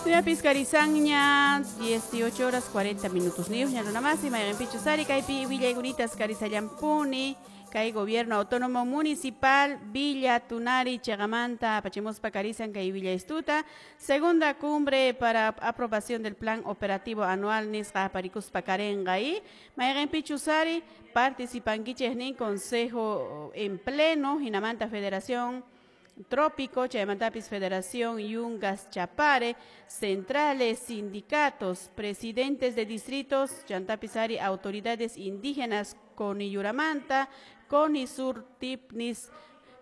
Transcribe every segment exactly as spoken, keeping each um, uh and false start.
Tuyapis karisanña dieciocho horas cuarenta minutos niyuqña runamasi mayqinpichus ari kaypi willaykunita karisallampuni kay gobierno autónomo municipal Villa Tunari chiqamanta apachimuspa karisan kay willaystuta segunda cumbre para aprobación del plan operativo anual nisqa aparikuspa karenqa y mayqinpichus ari participankichik nin consejo en pleno hinamanta federación Trópico, chaymantapis Federación Yungas Chapare, centrales, sindicatos, presidentes de distritos, chantapis ari autoridades indígenas Coniyuramanta, Conisur, Tipnis,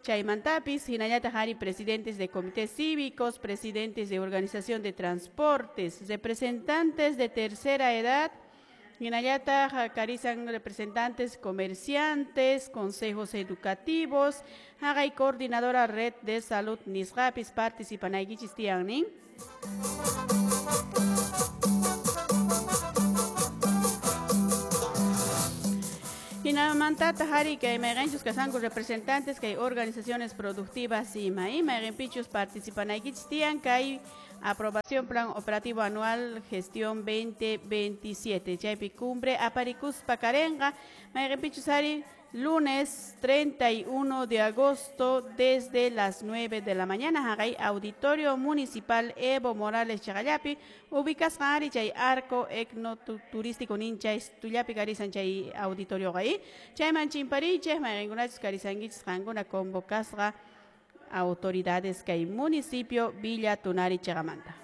chaymantapis, hinallataq ari presidentes de comités cívicos, presidentes de organización de transportes, representantes de tercera edad, hinallataq karisan representantes comerciantes, consejos educativos, haqay coordinadora red de salud nisqapis participanaykichis tiyan nin. Hinamantataq ari kay mayqinchus kasanku representantes kay organizaciones productivas ima y mayqinpichus participanaykichis tiyan kay aprobación plan operativo anual gestión veinte veintisiete chaypi cumbre aparikuspa karenqa mayqinpichus ari lunes treinta y uno de agosto desde las nueve de la mañana haqay auditorio municipal Evo Morales chiqallapi ubicasqa ari chay arco etnoturístico nin chay tullapi karisan chay auditorio qay chayman chimparichik mayqinkunachus karisankichis qankuna convocasqa autoridades kay municipio Villa Tunari chiqamanta.